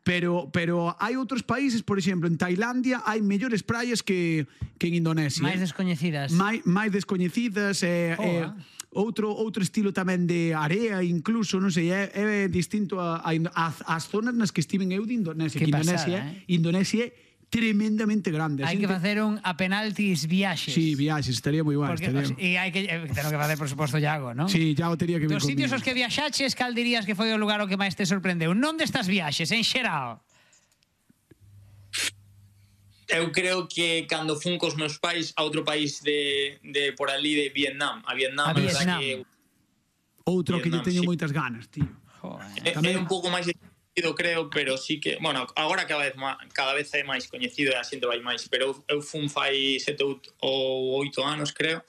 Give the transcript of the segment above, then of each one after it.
Pero hai outros países, por exemplo, en Tailandia hai mellores praias que en Indonesia. Máis descoñecidas. Máis descoñecidas, outro estilo tamén de area, incluso, non sei, é distinto ás zonas nas que estiven eu de Indonesia. Que pasada, Indonesia é tremendamente grande. Hai que facer un a penaltis viaxes. Sí, viaxes, estaría moi guai. E hai que tener que facer, por suposto, Iago, non? Sí, Iago tería que vir Dos conmigo. sitios aos que viaxaches, cal dirías que foi o lugar o que máis te sorprendeu? Non destas viaxes, en xeral. Eu creo que cando fun cos meus pais a outro país de por ali de Vietnam. A Vietnam. Outro que lle teño moitas ganas, tío. É un pouco máis creo, pero sí que, bueno, agora cada vez é máis coñecido e a xente vai máis, pero eu fun fai 7 ou 8 anos, creo,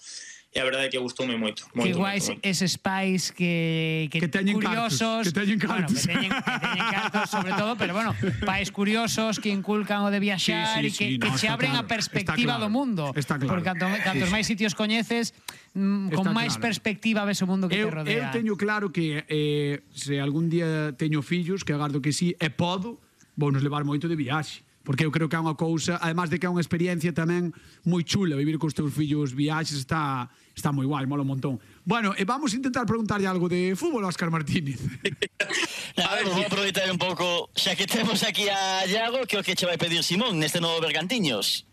e a verdade é que gustoume moito. Que guais eses pais que teñen curiosos, cartos, que teñen cartos. Bueno, que teñen cartos sobre todo, pero bueno, pais curiosos que inculcan o de viaxar e que che abren a perspectiva do mundo. Está claro. Porque cantos máis sitios coñeces, con máis perspectiva ves o mundo que te rodea. Eu teño claro que se algún día teño fillos, que agardo que sí, e podo, vou nos levar moito de viaxe. Porque eu creo que é unha cousa, además de que é unha experiencia tamén moi chula, vivir cos teus fillos viaxes está moi guai, mola un montón. Bueno, e vamos a intentar preguntarlle algo de fútbol a Óscar Martínez. A ver, vou aproveitar un pouco, xa que temos aquí a Iago, que o que che vai pedir Simón neste novo Bergantiños?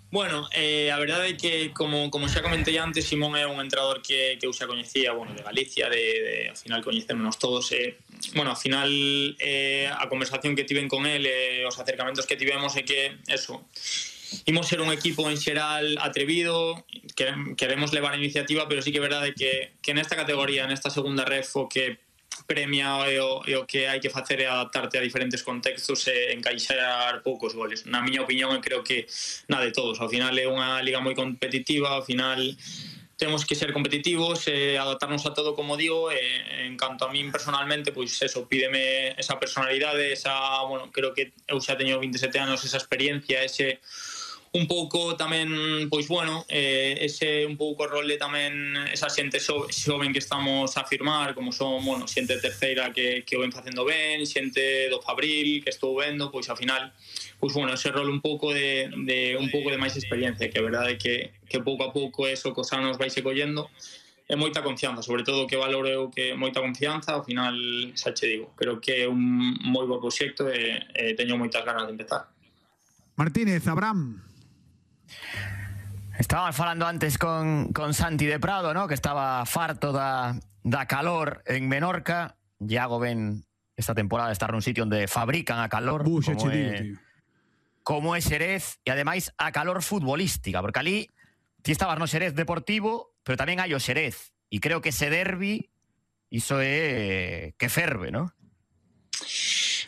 Bueno, a verdade é que, como xa comentei antes, Simón é un entrenador que eu xa coñecía, bueno, de Galicia, ao final coñecémonos todos, bueno, ao final a conversación que tiven con él, os acercamentos que tivemos é que, eso, imos ser un equipo en xeral atrevido, queremos levar a iniciativa, pero sí que é verdade que nesta categoría, nesta segunda ref, o que premia e o que hai que facer é adaptarte a diferentes contextos e encaixar poucos goles. Na miña opinión, creo que na de todos. Ao final é unha liga moi competitiva, ao final temos que ser competitivos e adaptarnos a todo, como digo, e en canto a min personalmente, pois eso, pídeme esa personalidade, bueno, creo que eu xa teño 27 anos, esa experiencia, ese un pouco tamén, pois bueno, ese un pouco rol de tamén esa xente xoven que estamos a firmar, como son, bueno, xente de terceira que o ven facendo ben, xente do Fabril que estou vendo, pois ao final, pois bueno, ese rol un pouco de máis experiencia, que a verdade é que pouco a pouco eso cos anos vai se collendo, e moita confianza, sobre todo que valoro eu que moita confianza, ao final, xa che digo, creo que é un moi bo proxecto e teño moitas ganas de empezar. Martínez, Abraham. Estábamos falando antes con Santi de Prado, ¿no? Que estaba farto da calor en Menorca. Iago ven esta temporada estar nun sitio onde fabrican a calor, como é Xerez, e ademais a calor futbolística, porque ali ti estabas no Xerez Deportivo, pero tamén hai o Xerez, e creo que ese derbi iso é que ferve, ¿no?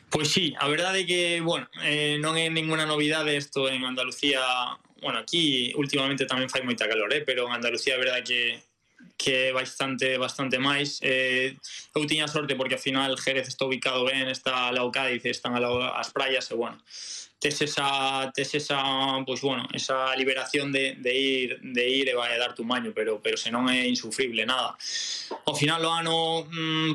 Pois sí, a verdade é que, bueno, non é ninguna novidade isto en Andalucía. Bueno, aquí últimamente tamén fai moita calor, pero en Andalucía a verdade que é bastante máis. Eu tiña sorte porque ao final Jerez está ubicado ben, está ao lado Cádiz, están ao lado as praias, e bueno, tes esa pois bueno, esa liberación de ir e vai a dar tu maño, pero senón é insufrible, nada. Ao final o ano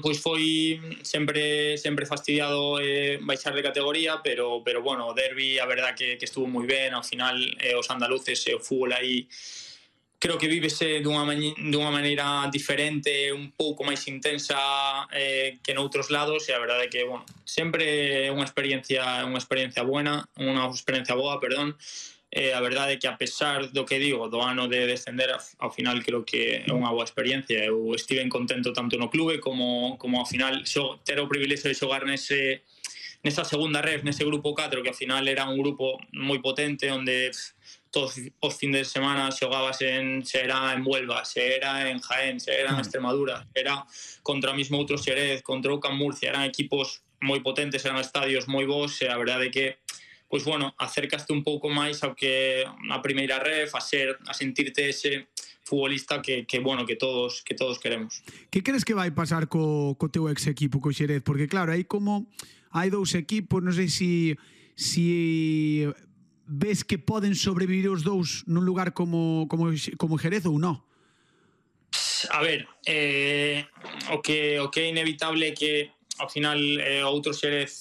pois foi sempre fastidiado baixar de categoría, pero bueno, o derbi a verdade que estuvo moi ben, ao final os andaluces e o fútbol aí creo que vívese dunha maneira diferente, un pouco máis intensa que noutros lados, e a verdade é que, bueno, sempre é unha experiencia boa, perdón. A verdade é que, a pesar do que digo, do ano de descender, ao final creo que é unha boa experiencia. Eu estive contento tanto no clube como ao final ter o privilexio de xogar nesta segunda ref, nese grupo 4, que ao final era un grupo moi potente, onde todos os fines de semana xogabas se era en Huelva, se era en Jaén, se era en Extremadura, era contra o mismo outro Xerez, contra o Can Murcia, eran equipos moi potentes, eran estadios moi bons, e a verdade é que, pois bueno, acercaste un pouco máis ao que a primeira ref, a sentirte ese futbolista que bueno, que todos queremos. Que crees que vai pasar co teu ex equipo, co Xerez? Porque claro, hai dous equipos, non sei se ves que poden sobrevivir os dous nun lugar como Jerez ou non? A ver, o que é inevitable é que ao final outro Xerez